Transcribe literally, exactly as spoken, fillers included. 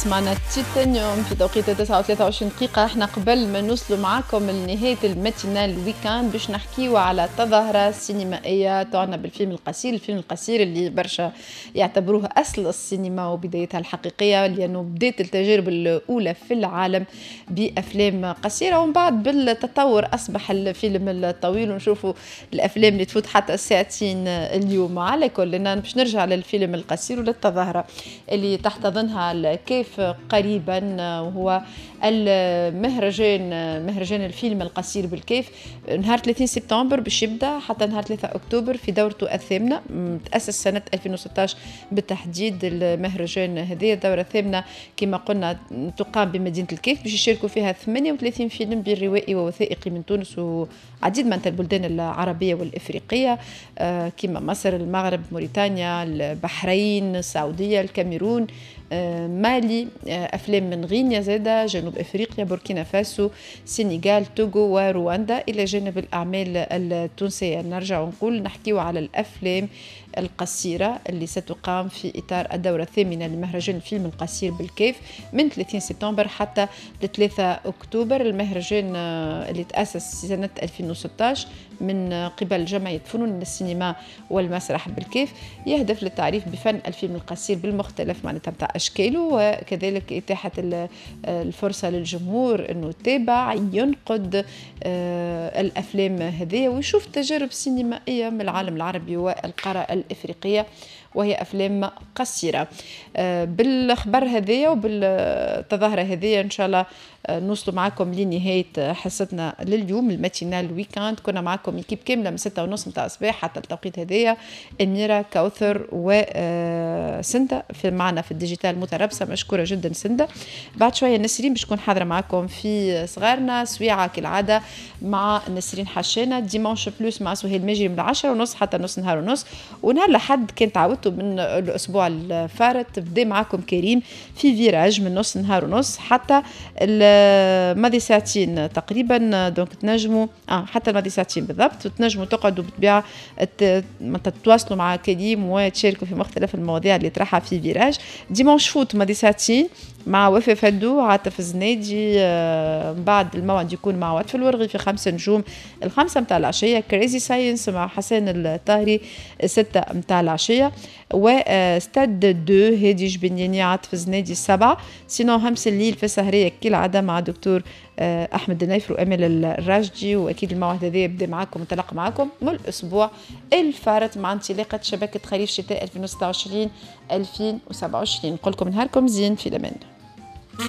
سمعنا تيتانيوم في توقيت تسعة وثلاثة وعشرين دقيقة. احنا قبل ما نوصلوا معاكم لنهاية ال matinale week-end باش نحكيو على تظاهرة سينمائية تعنى بالفيلم القصير، الفيلم القصير اللي برشا يعتبروه أصل السينما وبدايتها الحقيقية، لأنه بدات التجارب الأولى في العالم بأفلام قصيرة، ومن بعد بالتطور أصبح الفيلم الطويل، ونشوفوا الأفلام اللي تفوت حتى ساعتين اليوم. على كل باش نرجع للفيلم القصير وللتظاهرة اللي تحتضنها الكاف قريبا، وهو المهرجان، مهرجان الفيلم القصير بالكاف، نهار ثلاثين سبتمبر باش يبدا حتى نهار ثلاثة اكتوبر في دورته الثامنه. تاسس سنة ألفين وستة عشر بالتحديد المهرجان هذه. الدورة الثامنة كما قلنا تقام بمدينة الكاف، باش يشاركوا فيها ثمانية وثلاثين فيلم بين روائي ووثائقي من تونس وعديد من البلدان العربية والافريقيه، آه، كما مصر، المغرب، موريتانيا، البحرين، السعوديه، الكاميرون، آه، مالي، آه، افلام من غينيا زاده، جنوب افريقيا، بوركينا فاسو، سينغال، توغو ورواندا، الى جانب الاعمال التونسيه. نرجع ونقول نحكيو على الافلام القصيرة اللي ستقام في اطار الدورة الثامنة لمهرجان الفيلم القصير بالكاف من ثلاثين سبتمبر حتى ثلاثة اكتوبر. المهرجان آه، اللي تاسس سنة ألفين وستة عشر من قبل جمعية فنون السينما والمسرح بالكاف، يهدف للتعريف بفن الفيلم القصير بالمختلف معناتها بتاع اشكاله، وكذلك اتاحة الفرصة للجمهور انه يتابع، ينقد آه، الافلام هذه ويشوف تجارب سينمائية من العالم العربي والقاره الافريقيه، وهي افلام قصيره. آه، بالخبر هذايا وبالتظاهره هذه ان شاء الله آه، نوصلوا معكم لنهاية حصتنا لليوم ال matinale week-end. كنا معكم équipe كاملة من ستة ونص نتاع الصباح حتى التوقيت هذايا، اميره، كوثر وسندا في معنا في ال digital متربصه، مشكورة جدا سندا. بعد شوية نسرين باش تكون حاضره معكم في صغارنا، سويعه كالعادة مع نسرين حشانه، dimanche plus مع سهيل ماجري من عشرة ونص حتى نص نهار ونص. ونهار لحد كان تعودتوا من الاسبوع الفارط، بدا معكم كريم في virage من نص نهار ونص حتى الماضي ساعتين تقريبا، donc تنجموا اه حتى الماضي ساعتين بالضبط، وتنجموا تقعدوا بالطبيعة تتواصلوا مع كريم وتشاركوا في مختلف المواضيع اللي طرحها في virage. dimanche foot ماضي ساعتين مع وفاء فدو، عاطف الزنادي. آه، من بعد الموعد يكون مع وطف الورغي في خمسة نجوم الخمسة متاع العشية، Crazy Science مع حسن الطاهري ستة متاع العشية، و stade deux هادي جبنياني، عاطف الزنادي السبعة. sinon همس الليل في السهرية كالعادة مع دكتور آه، أحمد النيفر وأمل الراشدي. وأكيد الموعد هذا يبدا معكم وانطلق معكم من الأسبوع الفارط مع انطلاقة شبكة خريف شتاء ألفين وستة وعشرين ألفين وسبعة وعشرين. نقول لكم نهاركم زين، في الأمان.